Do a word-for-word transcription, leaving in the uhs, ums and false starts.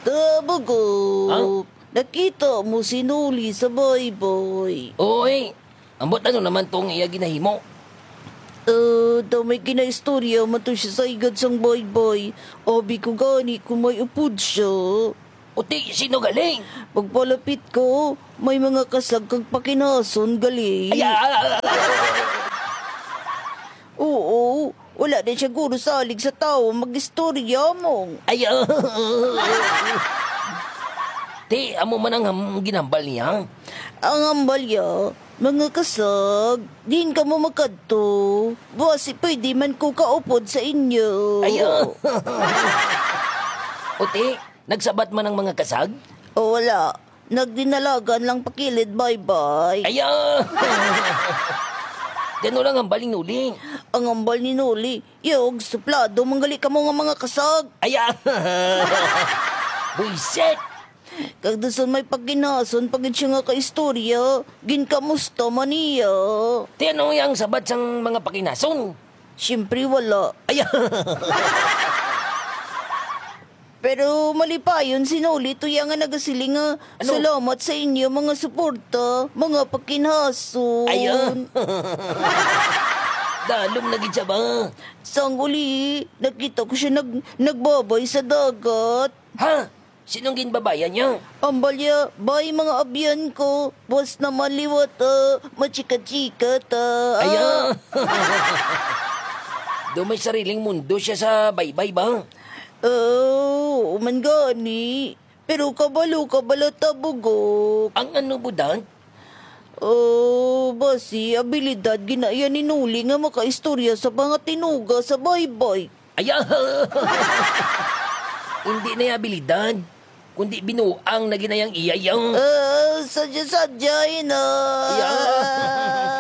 Tabugok. Nakita mo si Noli sa baybay? Oy, ambot ano naman tong iya ginahimo? Ah, daw may ginaistorya man to siya sa igad sang baybay. Abi ko gani kung may upod siya. Uti, sino gali? Pagpalapit ko, may mga kasag kag pakinason gali. Ay, ah, ah, ah, ah. Oo, wala din siya guro salig sa tawo mag-istorya mo. Ay, ah. Ti, amo man ang ham-, ginhambal niya? Ang hambal niya, mga kasag, diin kamo makadto? Basi pwede man ko kaupod sa inyo. Ay, ah. Uti, nagsabat man ang mga kasag? O, wala. Nagdinalagan lang pakilid, baybay. Ay, ah. Di ano lang hambal ni Noli? Ang hambal ni Noli, yog, suplado man gali kamo nga mga kasag. Ay, ah. Buisit! Kag dason may pakinason pa gid siya nga kaistorya, ginkamusta man niya. Ti ano ang sabat sang mga pakinason? Siyempre, wala. Ay, ah. Pero malipayon si Noli tuya nga nagasiling nga, ano? Salamat sa inyo, mga suporta, mga pakinhason. Ay, ah. Dalom na gid siya ba? Sang uli, nakita ko siya nag-, nagbabay sa dagat. Ha? Sinong ginbabayan niya? Ambalya, bay, mga abyan ko. Buwas naman liwat, ah, machika-chika ta. Ay, ah. Do may sariling mundo siya sa baybay ba? Oo, man gani. Pero kabalo ka bala, Tabugok. Ang ano, Budan? Oh, basi, abilidad ginaya ni Noli nga makaistorya sa mga tinuga sa baybay. Ay, ah. Hindi na yung abilidad, kundi binuang na ginayang iya yang. Ah, sadya-sadya, ina. Ay, ah.